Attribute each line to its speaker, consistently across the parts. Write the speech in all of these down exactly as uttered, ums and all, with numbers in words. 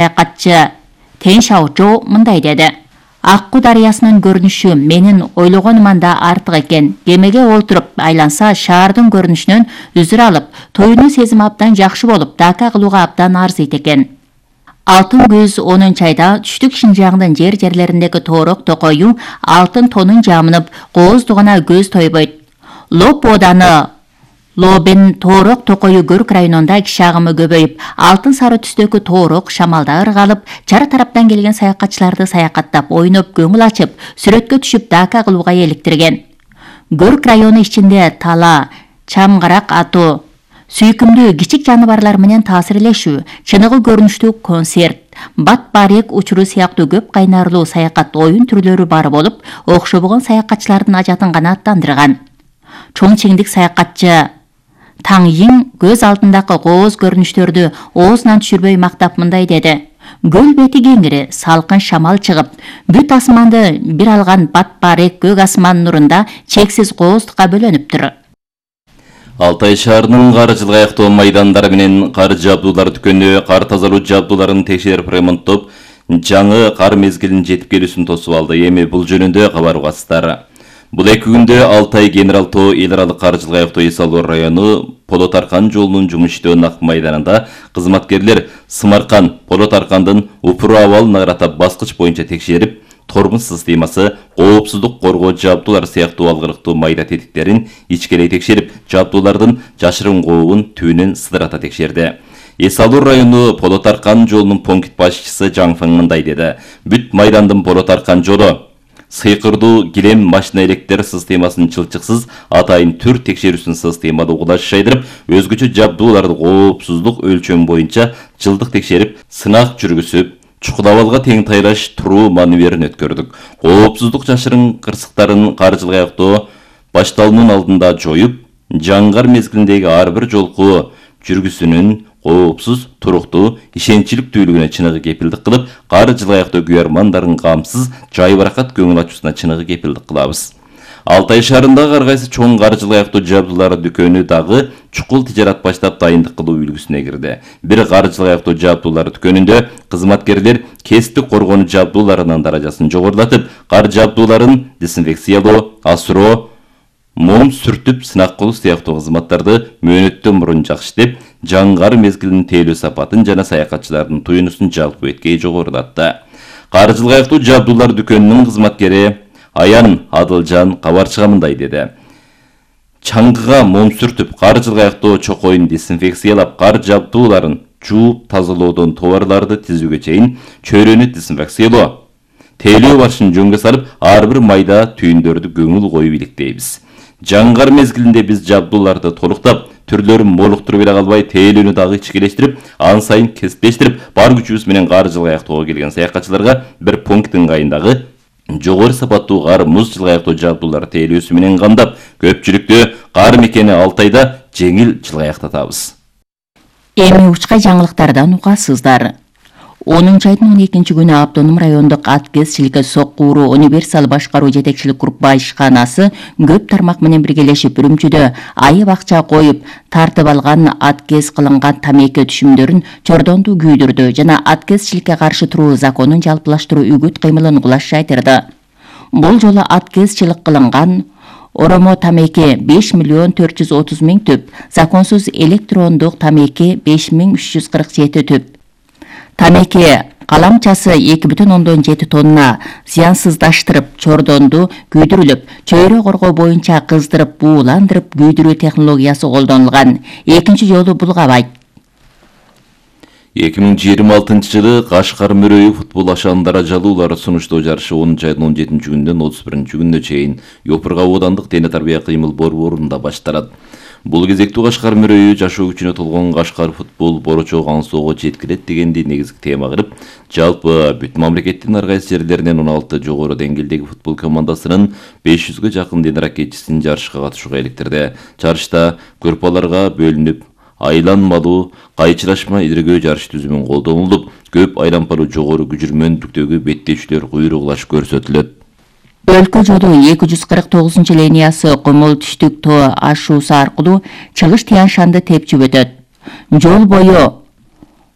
Speaker 1: саякатчы Тен Шаочжоу мындай деди. Аккуу дарыясынын көрүнүшү менин ойлогонуман да артык экен. Кемеге олтуруп айланса шаардын көрүнүшүнөн үзүр алып, тоюнун сезими абдан жакшы болуп, дака кылууга абдан арзыйт экен. Алтын күз онунчу айда түштүк Шинжаңдын жер-жерлериндеги тоорок токою алтын тонун жамынып, кооздугуна көз тойбойт. Лоп ооданы Лобен тоорок токою Көрк районунда киши агымы көбөйүп, алтын сары түстөгү тоорок шамалда ыргалып, чара тараптан келген саякатчыларды саякаттап, ойноп, көңүл ачып, сүрөткө түшүп, дака кылууга эликтирген. Көрк району ичинде тала, чамгарак атуу, сүйкүмдүү кичик жаныбарлар менен таасирлешүү, чыныгы көрүнүштүү концерт, бат барек учуру сыяктуу көп кайнарлуу саякат оюн түрлөрү бар болуп, окшобогон саякатчылардын ажатын гана аттандырган. Чоңчеңдик саякатчы Таң Йиң көз алдындагы кооз көрүнүштөрдү оозунан түшүрбөй мактап мындай деди. Көл бети кеңири, салкын шамал чыгып, бүт асманды бир алган бат барек көк асман нурунда чексиз кооздукка бөлөнүптүр.
Speaker 2: Алтай шаарынын кар жылга аяктоо майдандары менен кар жабдуулар дүкөнү кар тазалоо жабдууларын текшерип ремонттоп, жаңы кар мезгилинин жетип келүүсүн тосуп алды. Эми бул жөнүндө кабар угасыздар. Бул эки күндө Алтай Генерал Тоо эл аралык кар жылга аяктоо эс алуу району Полот Аркан жолунун жумуш иштөө нак майданында кызматкерлер Сымаркан, Полот Аркандын упуру абалын аратап баскыч боюнча текшерип, тормоз системасы, коопсуздук коргоо жабдуулары сыяктуу алгырыктуу майда тетиктерин ичкелей текшерип, жабдуулардын жашырын кообун түбүнөн сыдырата текшерди. Эс алуу району Полот Аркан жолунун пункт башчысы Жаң Фэң мындай деди. Бүт майдандын Полот Аркан жолу сыйкырдуу килем машина электр системасын чылчыксыз атайын түр текшерүүсүн системада угулаш шайдырып, өзгөчө жабдууларды коопсуздук өлчөм боюнча жылдык текшерип, сынак жүргүзүп, чукул абалга тең тайлаш туруу маневерин өткөрдүк. Коопсуздук жашырын кырсыктарын кар жылга аяктоо башталуунун алдында жоюп, жаңгар мезгилиндеги ар бир жолку жүргүсүнүн коопсуз, туруктуу, ишенчиликтүүлүгүнө чыныгы кепилдик кылып, кар жылга аяктоо күйөрмандардын камсыз, жайбаракат көңүл ачуусуна чыныгы кепилдик кылабыз. Алтай шаарындагы ар кайсы чоң кар жылга аяктоо жабдуулары дүкөнү дагы чукул тижарат баштап дайындык кылуу үлгүсүнө кирди. Бир кар жылга аяктоо жабдуулары дүкөнүндө кызматкерлер кесиптик коргонуу жабдууларынын даражасын жогорулатып, кар жабдууларын дезинфекциялоо, асыроо, мом сүртүп, сынак кылуу сыяктуу кызматтарды мөөнөттөн мурун жакшытып, жаңгар мезгилинин тейлөө сапатын жана саякатчылардын туюнусун жалпы эткей жогорулатты. Кар жылга аяктуу жабдуулар дүкөнүнүн кызматкери Аян Адылжан кабарчыга мындай деди. Чаңгыга мом сүртүп, кар жылга аяктоо чокоюн дезинфекциялап, кар жабдууларын жууп тазалоодон товарларды тизүүгө чейин чөйрөнү дезинфекциялоо, тейлөө башын жөнгө салып, ар бир майда түйүндөрдү көңүл коюп иликтейбиз. Жаңгар мезгилинде биз жабдууларды толуктап, түрлөрүн молуктуруп эле калбай, тейлөөнү дагы ичкелештирип, ан сайын кесиптештирип, бар күчүбүз менен кар жылга аяктоого келген саякатчыларга бир пункт ыңгайындагы жогору сапаттуу кар муз жылга аяктоо жабдуулар тейлөөсү менен камдап, көпчүлүктү кар мекени Алтайда жеңил жылга аяктатабыз.
Speaker 1: Эми учкай жаңылыктардан угасыздар. онунчу айдын он экинчи күнү Автоном райондук аткезчиликке соккууру универсал башкаруу жетекчилик группа ишканасы көп тармак менен биргелешип Үрүмчүдө айып акча коюп тартып алган аткез кылынган тамеки түшүмдөрүн чордонду күйдүрдү жана аткезчиликке каршы туруу законун жалпылаштыруу үгүт кыймылын угулаш жайтырды. Бул жолу аткезчилик кылынган оромо тамеки беш миллион төрт жүз отуз миң түп, законсуз электрондук тамеки беш миң үч жүз кырк жети түп. Тамеки каламчасы эки бүтүн ондон жети тонна зыянсыздаштырып, чордонду күйдүрүлүп, чөйрө коргоо боюнча кыздырып, бууландырып күйдүрүү технологиясы колдонулган. Экинчи жолу булгабайт.
Speaker 2: эки миң жыйырма алтынчы жылы Кашкар Мөрөйү футбол ашандара жалуулары сунуштоо жарышы онунчу айдын он жетинчи күнүнөн отуз биринчи күнүнө чейин Йопурга оодандык дене тарбия кыймыл борборунда башталат. Бул кезектүү Кашкар Мөрөйү жашоо күчүнө толгон Кашкар футбол борочо аңсоого жеткирет дегенди негизги тема кылып, жалпы бүт мамлекеттин ар кайсы жерлеринен он алты жогору деңгээлдеги футбол командасынын беш жүзгө жакын дене ракетчисин жарышка катышууга иликтирди. Жарышта группаларга бөлүнүп, айланмалуу кайчылашма идиргөө жарыш түзүмүн колдонулуп, көп айлампалуу жогору күжүрмөндүктөгү беттешүүлөр куйругулаш көрсөтүлөт.
Speaker 1: Өлкө жолу эки жүз кырк тогузунчу линиясы Комол түштүк тоо ашуусу аркылуу Чыгыш Тянь Шанды тепчип өтөт. Жол бою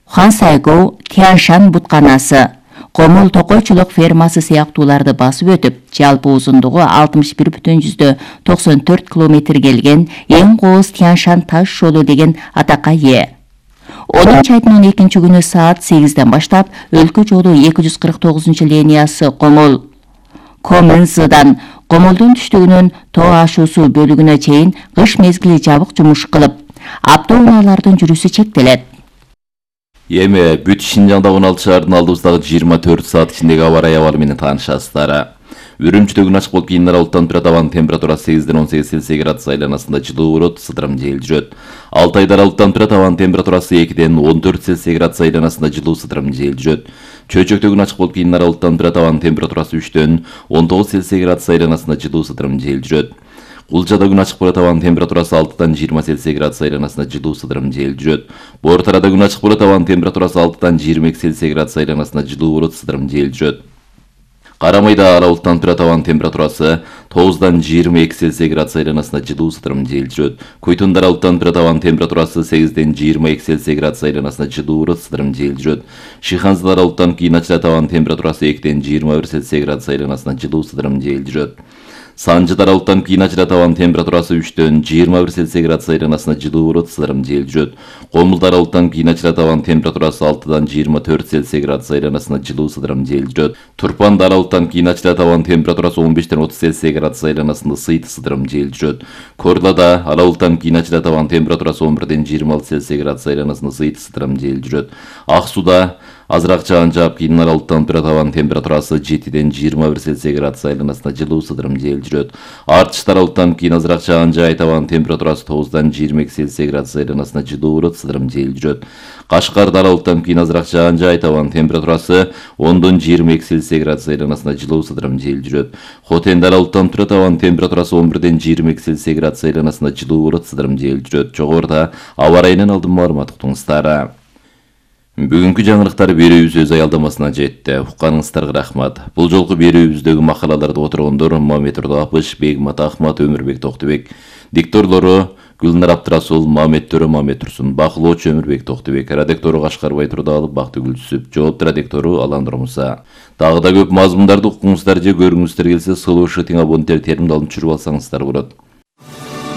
Speaker 1: Хансайгоу, Тяншан бутканасы, Комул токойчулук фермасы сыяктууларды басып өтүп, жалпы узундугу алтымыш бир бүтүн жүздөн токсон төрт километр келген эң кооз Тяншан таш жолу деген атакка ээ. онунчу айдын он экинчи күнү саат сегизден баштап өлкө жолу эки жүз кырк тогузунчу линиясы Комул Комынзыдан Комулдун түштүгүнөн тоо ашуусу бөлүгүнө чейин кыш мезгили жабык жумуш кылып, автоунаалардын жүрүшү чектелет.
Speaker 2: Эми бүт Шинжаңда он алты шаардын алдыбыздагы жыйырма төрт саат ичиндеги аба ырайы абалы менен таанышасыздар. Үрүмчүдө күн ачык болуп кийин аралыктан турат, абанын температурасы сегизден он сегиз Цельсий градус айланасында жылуу болот, сыдырым жел жүрөт. алты айда аралыктан турат, абанын температурасы экиден он төрт Цельсий градус айланасында жылуу, сыдырым жел жүрөт. Чөйчөктө күн ачык болуп кийин аралыктан турат, абанын температурасы үчтөн он тогуз Цельсий градус айланасында жылуу, сыдырым жел жүрөт. Кулчада күн ачык болот, абанын температурасы алтыдан жыйырма Цельсий градус айланасында жылуу, сыдырым жел жүрөт. Боор тарада күн ачык болот, абанын температурасы алтыдан жыйырма эки Цельсий градус айланасында жылуу болот, сыдырым жел жүрөт. Карамайда аралыктан турат, абанын температурасы тогуздан жыйырма эки Цельсий градус айланасында жылуу, сыдырым жел жүрөт. Койтунда аралыктан турат, абанын температурасы сегизден жыйырма эки Цельсий градус айланасында жылуу болот, сыдырым жел жүрөт. Шыханзада аралыктан кийин ачылат, абанын температурасы экиден жыйырма бир Цельсий градус айланасында жылуу, сыдырым жел жүрөт. Санжыда аралыктан кийин ачылат, абанын температурасы үчтөн жыйырма бир Цельсий градус айланасында жылуу болот, сыдырым жел жүрөт. Комулда аралыктан кийин ачылат, абанын температурасы алтыдан жыйырма төрт Цельсий градус айланасында жылуу, сыдырым жел жүрөт. Турпанда аралыктан кийин ачылат, абанын температурасы он бештен отуз Цельсий градус айланасында сыйт, сыдырым жел жүрөт. Корлада аралыктан кийин ачылат, абанын температурасы он бирден жыйырма алты Цельсий градус айланасында сыйт, сыдырым жел жүрөт. Ак сууда азыраак жаан жаап, кийин аралыктан турат, абанын температурасы жетиден жыйырма бир Цельсий градус айланасында жылуу, сыдырым жел жүрөт. Артышта аралыктан кийин азыраак жаан жаайт, абанын температурасы тогуздан жыйырма эки Цельсий градус айланасында жылуу болот, сыдырым жел жүрөт. Кашкарда аралыктан кийин азыраак жаан жаайт, абанын температурасы ондон жыйырма эки Цельсий градус айланасында жылуу, сыдырым жел жүрөт. Хотенде аралыктан турат, абанын температурасы он бирден жыйырма эки Цельсий градус айланасында жылуу болот, сыдырым жел жүрөт. Жогоруда аба ырайынан алдын маалымат уктуңуздар. Бүгүнкү жаңылыктар берүүбүз өз аялдамасына жетти. Укканыңыздарга рахмат. Бул жолку берүүбүздөгү макалаларды отургондор Мамет Ордоапыш, Бегмат Ахмат, Өмүрбек Токтубек, дикторлору Гүлнар Абдрасул, Мамет Төрө, Мамет Турсун, бакылоочу Өмүрбек Токтубек, редактору Кашкарбай Турдалов, Бактыгүл Түсүп, жоопту редактору Алан Ромуса. Дагы да көп мазмундарды укуңуздар же көрүңүздөр келсе, сылуу шытың абоненттер терминалын түшүрүп алсаңыздар болот.